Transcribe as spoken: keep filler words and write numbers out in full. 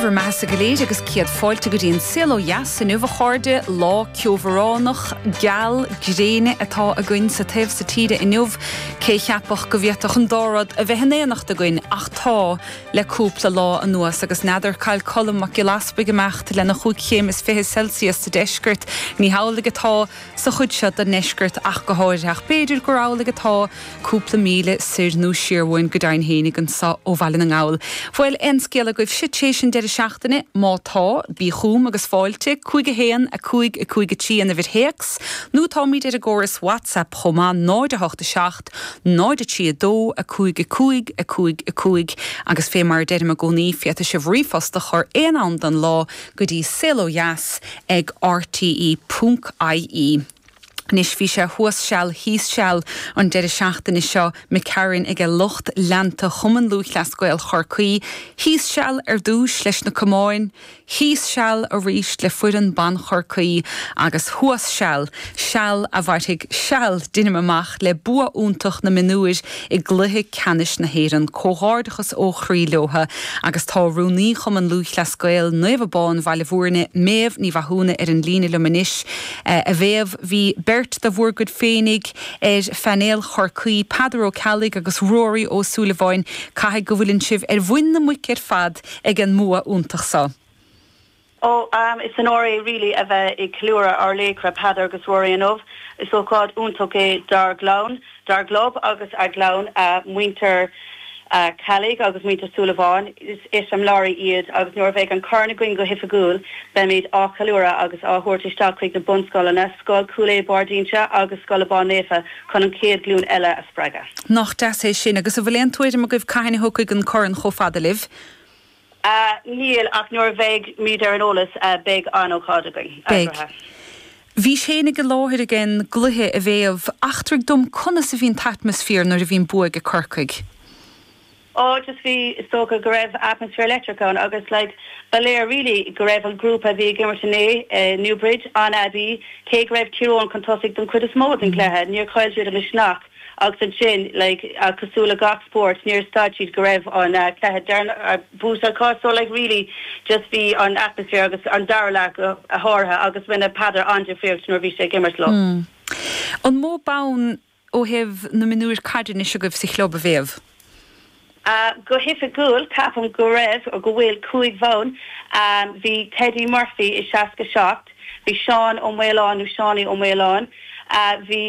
Bhur mbeatha go léir agus céad fáilte go dtí an Saol Ó Dheas inniu a chairde lá ceobhránach geal gréine atá againn sa taobh seo tíre inniu cé cheapfadh go bhféadfadh an dá rud a bheith in éineacht againn ach tá le cúpla lá anuas agus n'fheadar cá bhfuil Colm Mac Giolla Easbuig ag imeacht lena chúig chéim is fiche Celsius sa deisceart ní hamhlaidh atá sa chuid seo den ndeisceart ach go háirithe ach b'fhéidir gur amhlaidh atá cúpla míle soir nó siar uainn go deimhin féinig anseo ó Bhaile na nGall. Bhfuil aon scéal agaibh tar éis an deireadh seachtaine má tá bí chugam agus fáilte cúig a haon a cúig a cúig a trí an uimhir théacs, nó táimid ar an gcóras WhatsApp chomh maith náid a hocht a seacht, náid a trí a dó a cúig a cúig a cúig a cúig agus fé mar deirim i gcónaí féadfaidh sibh ríomhphost a chur aon am den lá go dtí saol ó dheas ag RTE ponc IE. Anois bhí sé thuas seal thíos seal an deireadh seachtaine seo McCarran ag lucht leanta Chumann Lúthchleas Gael Chorcaí, thíos seal ar dtús leis na camáin, thíos seal arís le foireann ban Chorcaí agus thuas seal seal a mhairfidh seal deinim amach le bua iontach na mionúir i gcluiche ceannais na hÉireann comhghairdeachas ó chroí leotha agus tá rúnaí Chumann Lúthchleas Gael Naomh Abán Bhaile Bhúirne Méabh Ní Mhathúna ar an líne liom anois a Mhéabh bhí beirt de bhur gcuid féinig ar phainéal Chorcaí Peadar Ó Ceallaigh agus Ruairí Ó Súilleabháin caithfidh go bhfuileann sibh ar mhuin na muice ar fad ag an mbua iontach seo. Ó um, is an onóir é really a bheith ag ceiliúradh ár laochra Peadar agus Ruairí inniu. Is ócáid iontach é dár gclann, dár gclub agus ár gclann uh, muintir uh, Ceallaigh agus muintir Súilleabháin is eiseamláirí iad agus nuair a bheidh an corn againn go hoifigiúil beimid á cheiliúradh agus á thabhairt isteach chuig na bunscoileanna, Scoil Chúil Aodha Barr d'Inse agus Scoil Abán Naofa chun an chéad ghlúin eile a spreagadh. Nach deas é sin agus an bhfuil aon tuairim agaibh cathain a thiocfaidh an corn chomh fada libh. Uh, níl ach nuair a bheimid ar an eolas uh, beidh an-ócáid againn. Beidh. Bhí sé ag an láthair ag an gcluiche a Mhéabh eachtraigh dom conas a bhíonn an t-atmaisféar nuair a bhíonn bua ag Corcaigh. Ó just bhí is dócha go raibh atmaisféar leictreach ann agus like ba léir really go raibh an grúpa bhí ag imirt inné uh, Newbridge an aibí cé go raibh Tír Eoghain chun tosaigh don chuid is mó den chluiche níor chaill siad an misneach agus ansin like uh, cosúil le gach sport níor stad siad go raibh an uh, cluiche uh, buaite acu so like really just bhí an atmaisféar agus an dara leath go háirithe agus rinne Peadar an-difríocht nuair bhí sé ag imirt leo. Mm. An mó bonn ó thaobh na mionúir caide anois agaibh sa chlub a Mhéabh? Uh, go hoifigiúil ceapaim go raibh ó go bhfuil cúig bhonn um, bhí Teddy Murphy i seasca seacht, bhí Seán Ó Maoláin nó Seánie Ó Maoláin, uh, bhí